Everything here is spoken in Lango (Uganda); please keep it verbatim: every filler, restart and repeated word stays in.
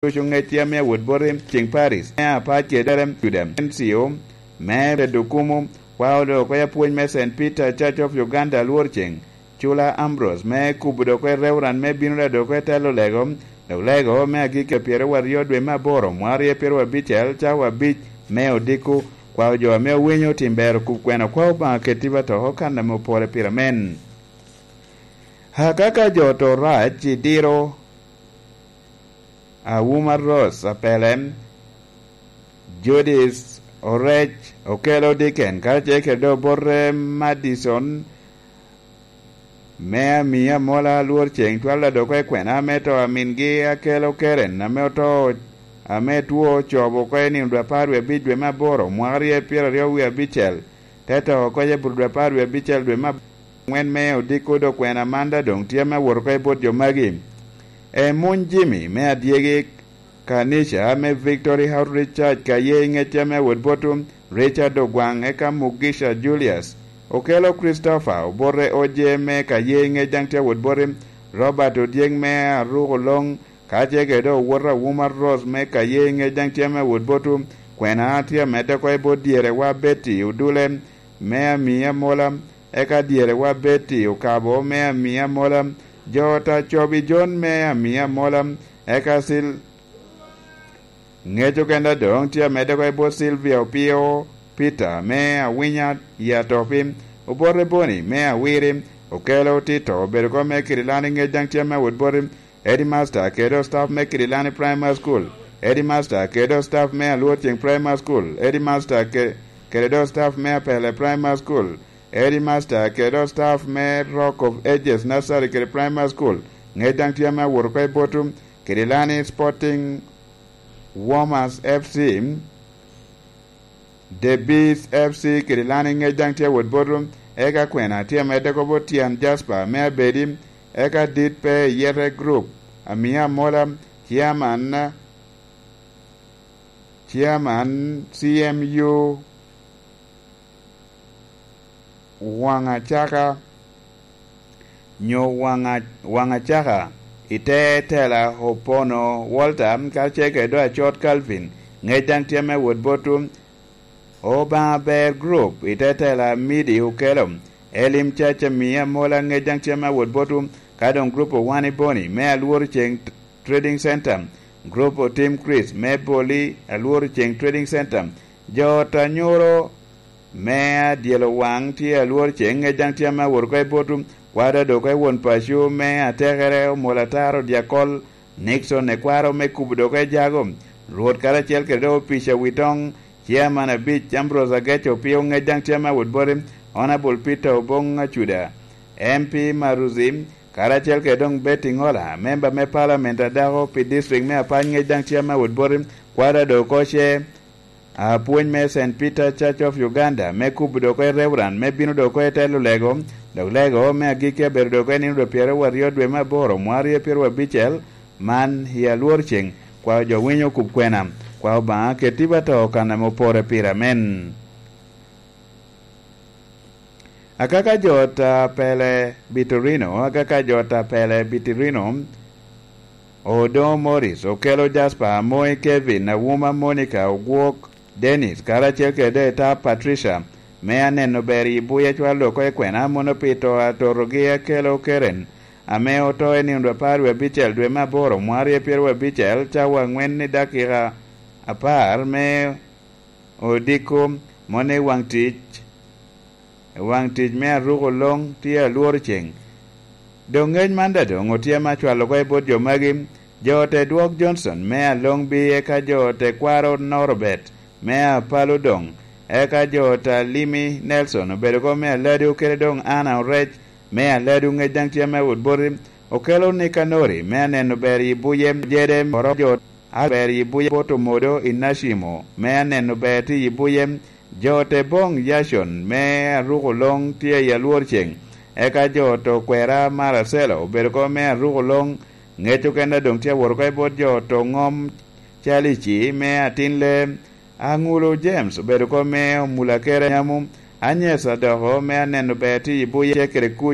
ducu ŋec tye ame awot boti, ceŋ Paris me apac kede Juda, N C O me Tedukumu, kwao dok oko apwony me Saint Peter Church of Uganda Alworceng, Cula Ambrose me kubo dok oko Reverend me bino da dok oko i telo lego, dok lego me agikki pyeraryo dwe me aboro, mwaka aryo pyeraryo abicel, cawa abic me odiko, kwao jo ame owinyo tim ber okub kwena, kwao Obaŋa keti ba to oko kan ame opore pire amen. Akaka jo to rac i diro Awuma Rose Apelem, Judith Orec, Okelo Diken, karacel kede obote Madison me ami amola Alworceng, twal adoko i kwena ame to amingi Akelo Keren ame oto, ame two ocobo oko i nino dwe apar wie abic dwe me aboro, mwaka aryo pyeraryo wie abicel, te to oko i Eburu dwe apar wie abicel dwe me aŋwen me odiko dok kwena man da doŋ tye ame awot oko i bot jo magi. Emuny Jimmy me adyegi, kanica me Victory Outreach Church ka ye i ŋecce me wot botu, Richard Ogwaŋ, eka Mugisha Julius, Okelo Christopher, obote Oje me ka ye i ŋec daŋ tye awot boti, Robert Odyek me Aruko Loŋ, ka ce kede owot Awuma Rose me ka ye i ŋec daŋ tye me wot botu, kwena tye amedde oko i bot dyerewa Betty Odule me ami amola, eka dyerewa Betty Okabo me ami amola, jo ta cobi John me ami amola, eka sil ŋec okenda doŋ tye amedde oko i bot Sylvia Opio, Peter me Awinya i Atopi, obote Boni me Awiri, Okelo Tito obedo oko me Kirilani ŋec daŋ tye me wot boti, Headmaster kede staff me Kirilani Primary School, Headmaster kede staff me Alworceng Primary School, Headmaster ke-, kede do staff me Apele Primary School, Headmaster kede do staff me Rock of Ages Nursery kede Primary School, ŋec daŋ tye ame awot oko i botu, Kirilani Sporting Warmers F C, The Bees F C, Kirilani ŋec daŋ tye awot botu, eka kwena tye amedde oko bot Tyen Jasper me Abedi, eka dit pe i Yete Group, Amia Amola, Chairman, Chairman C M U Waŋacaka, nyo Waŋa-, Waŋacaka, i te tela Opono Walter, karacel kede do Acot Calvin, ŋec daŋ tye ame wot botu, Obaŋa Ber Group, i te tela Midi Okelo, Elim Caca Mia Mola, ŋec daŋ tye ame wot botu, ka doŋ Group Owani Boni, me Alworo Ceng Trading Center, Group Otim Chris, me Boli Alworo Ceng Trading Center, jo ot anyuro me adyelo waŋ tye Alworo Ceng, ŋec daŋ tye ame awot oko i botu, kwaro dok oko i won paco me atekere, Omol Ataro Dyakol, Nixon Ekwaro me kubo dok oko i jago, Rwot karacel kede dok opic Awitoŋ, Chairman abic, Ambrose Ageco Opio, ŋec daŋ tye ame awot boti, Honorable Peter Oboŋ Acuda, M P Maruzi, karacel kede doŋ Betty Ŋola, memba me Parliament a dako pi district me Apany, ŋec daŋ tye ame awot boti, kwaro dok oko ce, apwony me Saint Peter Church of Uganda, me kubo dok oko i Reverend, me bino dok oko i telo lego, dok lego me agikki abedo dok oko i nino dwe pyeraryo aryo dwe me aboro, mwaka aryo pyeraryo abicel, man i Alwor Ceng, kwao jo winyo kub kwena, kwao Obaŋa keti ba to kan ame opore pire, amen. Akaka jo ot a Pele Bitorino, akaka jo ot a Pele Bitorino, Odoŋo Morris, Okelo Jasper, Amoy Kevin, Awuma Monica, Ogwok Dennis, karacel kede Etap Patricia, me aneno ber i buya cwalo oko i kwena, mono pi to a totogi Akelo Keren, ame oto i nino dwe apar wie abicel dwe me aboro, mwaka aryo pyeraryo abicel, cawa aŋwen i dakika apar me odiko, mono i waŋ tic, i waŋ tic me aruko loŋ tye Alwor Ceng. Doŋ ŋec man daŋ doŋ otye ame acwalo oko i bot jo magi, jo ot Edwok Johnson me Aloŋbi, eka jo ot Ekwaro Norobet me Apalo doŋ, eka jo ot Alimi Nelson obedo oko me Aladu, kede doŋ Anna Orec me Aladu, ŋec daŋ tye ame awot boti, Okelo Nikanori me aneno ber i buye, Jede Oro, jo ot aber i buye bot Omodo i Nacimo me aneno ber tye i buye, jo ot Eboŋ Yacon me aruko loŋ tye i Alwor Ceng, eka jo ot Okwera Maracelo obedo oko me aruko loŋ, ŋec okene doŋ tye awot oko i bot jo ot Oŋom Calici me atin le, Aŋulo James obedo oko me Omulakere Nyamu, Anyes Adoko me aneno ber tye i buye kede kuc,